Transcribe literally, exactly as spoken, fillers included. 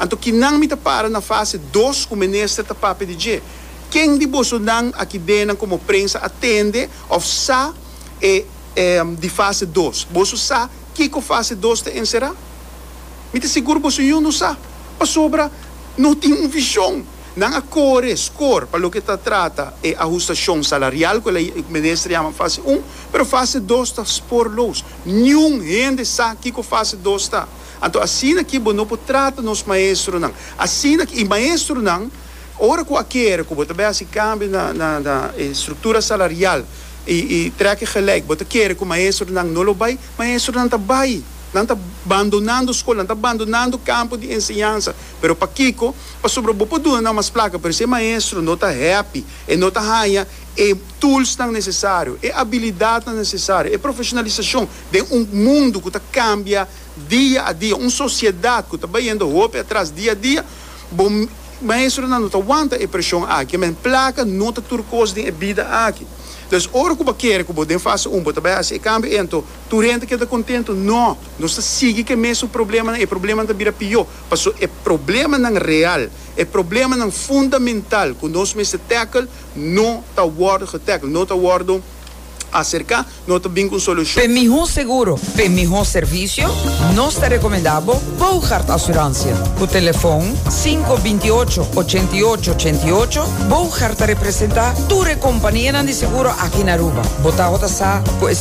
Anto kinan mi ta para na fase dos ku minister ta papia di dje. Ken di bosonan aki den komo prensa a tende òf sa e, e di fase dos? Boso sa kiko fase dos ta enserá? Mi ta sigur boso no sa. Pasobra no tin un vishon. Nan a kore score pa loke ta trata e ahustashon salarial ku e minister yama fase un, pero fase dos ta spoorloos. Ningun hende sa kiko fase dos ta. Anto asina ku bo no por trata nos maestronan. Asina ku e maestronan ora ku a kere ku bo ta hasi kambio na na na struktura salarial i i trekken gelijk, bo ta kere ku maestronan no lo bai, maestronan ta bai. Nan ta bandonando skol, nan ta bandonando kampo di enseñansa. Pero pakiko, pasobra bo por duna mas plaka, pero si maestro no ta happy, e no ta haña e tools nan nesesario, e abilidatnan nesesario, e profeshonalisashon di un mundu ku ta kambia dia a dia, un sosiedat ku ta bayendo hopi atras dia a dia, bon, maestro no ta wanta e preshon aki, ma plaka no ta tur kos den bida aki. Dus ora ku bo kere ku den fase un, bo ta bai hasi e kambio, anto tur hende keda kontentu. No, nos ta sigui ku e mesun problema, e problema ta bira pió. Paso e problemanan real, e problemanan fundamental ku nos mester tackle, no ta wòrdu getackle, no ta wòrdu aserká, no ta bin ku solushon. Pa mihó seguro, pa mihó servisio, nos ta rekomendá Bogart Assurantie. Ku telefòn sinku bintiòcho òchentiòcho òchentiòcho, Bogart ta representá tur kompania di seguro aki na Aruba. Bo ta sa ku